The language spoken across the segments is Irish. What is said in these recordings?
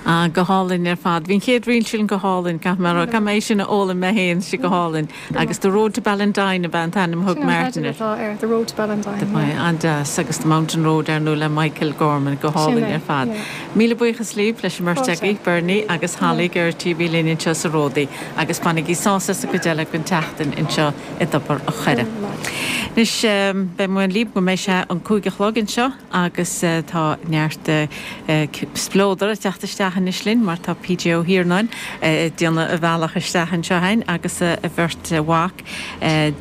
Ah, go hálainn ar fad. Bhí an chéad ríl sin go hálainn, caithfidh mé a rá. Caithfidh mé é sin a fhoghlaim mé féin, sé go hálainn. Agus The Road to Ballindine ab ea an t-ainm a thug Martin air. Sin an teideal atá air, The Road to Ballindine, yeah. An-deas. Agus The Mountain Road, ar ndóigh, le Michael Gorman. Go hálainn ar fad. Míle buíochas libh, leis an mbeirt agaibh, Bernie agus Holly Geraghty a bhí linn anseo sa Ródaí. Agus bainigí sásamh as an gcuid eile den tseachtain anseo i dTobar a' Choire. Anois, beidh mé libh go mbeidh sé an 5 a chlog anseo. Agus tá neart spleodar ag teacht isteach anois linn mar tá PJ Ó hIarnáin ag déanamh a bhealach isteach anseo againn agus a bheirt mhac,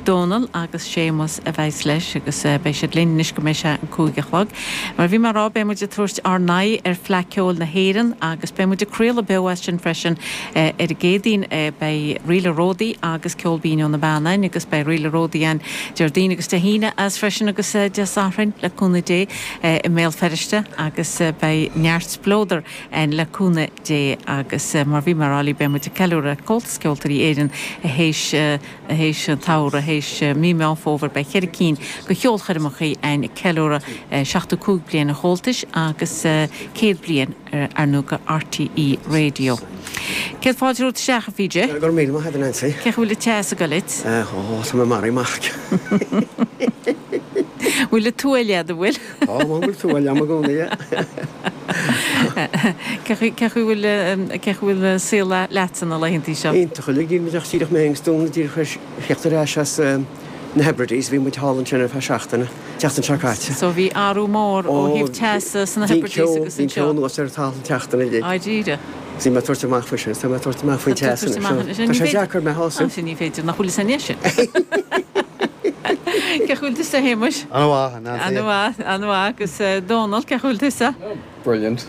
Dónal agus Séamus a bheas leis agus beidh siad linn anois go mbeidh sé an 5 a chlog. Mar a bhí mé a rá beidh muid ag tabhairt ár n-aghaidh ar Fleadh Ceoil na hÉireann agus beidh muid ag craoladh beo as sin freisin ar an gCéadaoin. Beidh Ríle Ródaí agus Ceol Binn ó na Beanna againn agus beidh Ríle Ródaí againn Déardaoin agus Dé hAoine as freisin agus Dé Sathairn le cúnamh Dé i mBéal Feirste agus beidh neart spleodar ann le cúnamh Dé agus mar bhí mé a rá libh beidh muid ag ceiliúradh Comhaltas Ceoltóirí Éireann théis théis an tsamhraidh théis mí Meán Fómhair beidh cheithre cinn de cheolchoirmeachaí ann ag ceiliúradh 75 bliain an Chomhaltais agus 100 bliain ar ndóigh de RTÉ Radio. Céad fáilte romhat isteach, a PJ. Go raibh míle maith agat, a Nancy. Cén chaoi a bhfuil an teas ag goil duit? Ó, tá mé maraithe amach. Bhfuil an tuáille agat, an bhfuil? Tá, bhfuil tuáille agam i gcónaí. Cén chaoi bhfuil, cén chaoi bhfuil an saol leatsa na laethantaí seo? Iontach uilig, níl muid ach díreach mé agus Dónal díreach tar éis theacht ar ais as na Hebrides, bhí muid thall ansin ar feadh seachtaine. tseachtain seo caite. So bhí athrú mór ó thaobh teasa sna Hebrides agus anseo. Bhí an ceo anuas ar an talamh an tseachtain uilig. Dáiríre. Bhí mé ag tabhairt amach faoi sin, tá mé ag tabhairt amach faoin teas anois. Tá sé deacair mé a shásamh. Sin ní féidir, nach bhfuil fhios againn é sin. Cén chaoi bhfuil tusa, a Shéamuis? An-mhaith, a Nancy. An-mhaith, an-mhaith. Agus Dónal, cén chaoi bhfuil tusa? Brilliant.